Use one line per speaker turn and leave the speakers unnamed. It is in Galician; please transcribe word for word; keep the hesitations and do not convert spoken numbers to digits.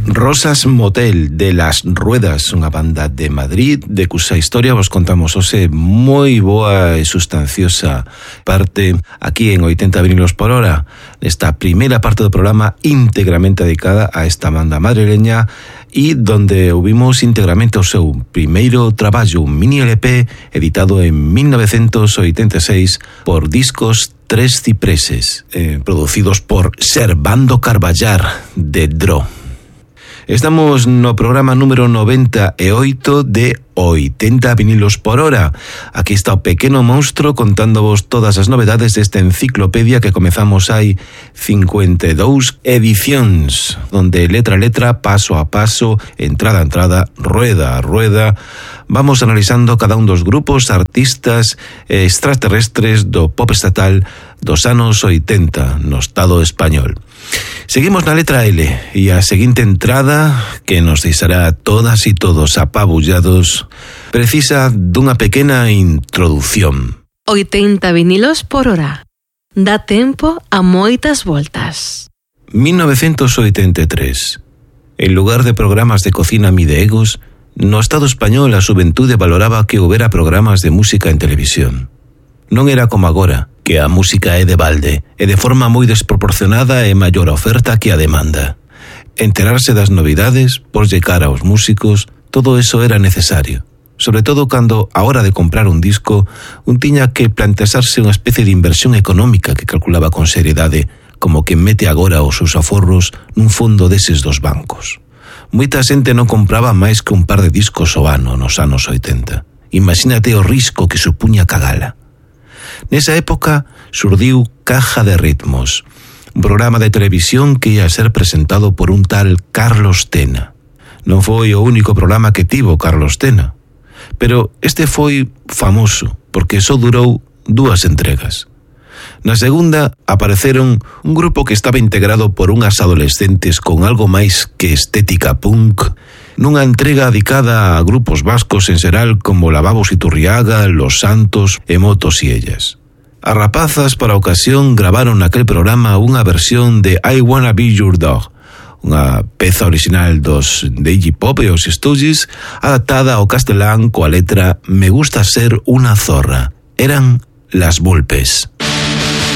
Rosas Motel de Las Ruedas, unha banda de Madrid de cusa historia vos contamos hoxe moi boa e sustanciosa parte aquí en oitenta vinilos por hora, nesta primeira parte do programa íntegramente dedicada a esta banda madrileña e donde ouvimos íntegramente o seu primeiro traballo, un mini L P editado en mil novecientos oitenta e seis por Discos Tres Cipreses, eh, producidos por Servando Carballar de Dro. Estamos no programa número noventa e oito de oitenta vinilos por hora. Aquí está o pequeno monstro contándovos todas as novedades desta enciclopedia que comezamos hai cincuenta e dous edicións, donde letra a letra, paso a paso, entrada a entrada, rueda a rueda, vamos analizando cada un dos grupos, artistas extraterrestres do pop estatal dos anos oitenta no Estado español. Seguimos na letra L e a seguinte entrada, que nos deixará todas e todos apabullados, precisa dunha pequena introdución.
oitenta vinilos por hora. Dá tempo a moitas voltas.
mil novecientos oitenta e tres. En lugar de programas de cocina mideegos, no Estado español a xuventude valoraba que houbera programas de música en televisión. Non era como agora, que a música é de balde e de forma moi desproporcionada e maior a oferta que a demanda. Enterarse das novidades, porlle cara aos músicos, todo eso era necesario. Sobre todo cando, a hora de comprar un disco, un tiña que plantearse unha especie de inversión económica que calculaba con seriedade, como que mete agora os seus aforros nun fondo deses dos bancos. Moita xente non compraba máis que un par de discos ao ano nos anos oitenta. Imagínate o risco que supuña cagala. Nesa época surdiu Caja de Ritmos, un programa de televisión que ia a ser presentado por un tal Carlos Tena. Non foi o único programa que tivo Carlos Tena, pero este foi famoso porque só durou dúas entregas. Na segunda apareceron un grupo que estaba integrado por unhas adolescentes con algo máis que estética punk, nunha entrega dedicada a grupos vascos en xeral como Lavabos Iturriaga, Los Santos e Motos y Ellas. As rapazas para a ocasión gravaron naquel programa unha versión de I Wanna Be Your Dog, unha peza original dos de Iggy Pop e os Stooges, adaptada ao castelán coa letra Me gusta ser una zorra. Eran Las Vulpes.